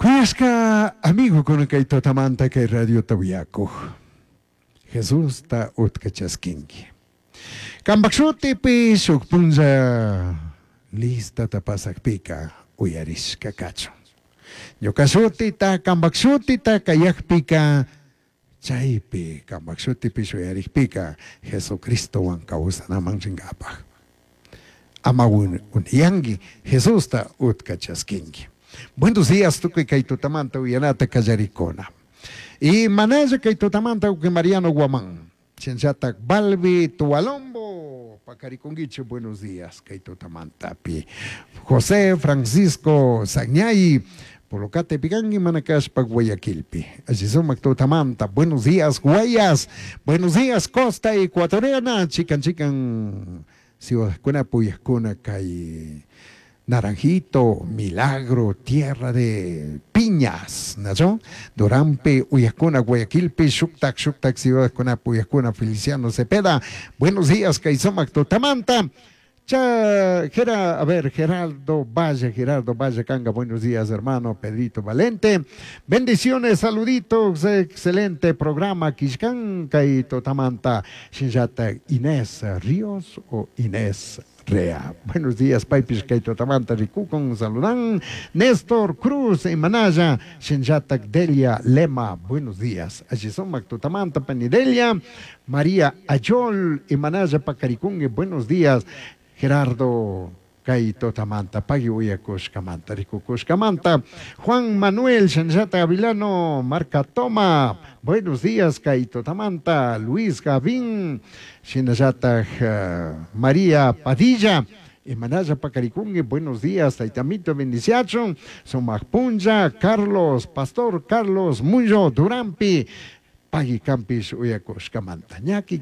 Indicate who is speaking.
Speaker 1: Kuyashka amigokuna kay tutamanta kay radiota uyakuj. Jesusta utka chaskinki. Kampak shutipi shuk punlla listata pasakpika uyarishka kachun. Ñuka shutita, kampak shutita kayakpika chaypi kampak shutipish uyarikpika Jesucristowan kawsanaman rinkapak. Ama uniyanki Jesusta utka chaskinki. Buenos días tukuy kay tutamanta uyanata kallarikuna. Y manalla kay tutamanta uki Mariano Guamán. Shinllatak Balbi Tualombo, Pacariconguiche, buenos días, kay tutamantapi. José Francisco Sagñay, Polocate Picanqui, Manacashpa, Guayaquilpi. Allí sumak tutamanta, buenos días, Guayas, buenos días, Costa Ecuatoriana, chican chican, ciudadkuna, puyakuna, kay Naranjito, Milagro, Tierra de Piñas, ¿no? Durampe, Uyacuna, Guayaquilpi, Shuktak, Shuktak, Ciudadcuna, Puyacuna, Feliciano Cepeda. Buenos días, Kaisomac, Tutamanta. Cha, Gera, a ver, Geraldo Valle, Gerardo Valle Canga, buenos días, hermano Pedrito Valente. Bendiciones, saluditos, excelente programa, Kishkan, Kaito Tamanta, Shinjata Inés Ríos o Inés Rea. Buenos días, Paipish Kaito Tamanta, Rikukon, saludan. Néstor Cruz, Manaya, Shinjatak Delia Lema, buenos días. Allí son Tutamanta, Panidelia, María Ayol, Imanaya Pacaricungue, buenos días. Gerardo Kaito Tamanta, Pagui Uyakushkamanta, Rikukushkamanta, Juan Manuel Shanjata Avilano, Marca Toma, buenos días, Kaito Tamanta, Luis Gavín, Shinayata María Padilla, Emanaya Pacaricungue, buenos días, Taitamito Bendiciachon, Somajpunja, Carlos, Pastor Carlos Muyo Durampi, Pagui Campis Uyakushkamanta, Ñaki.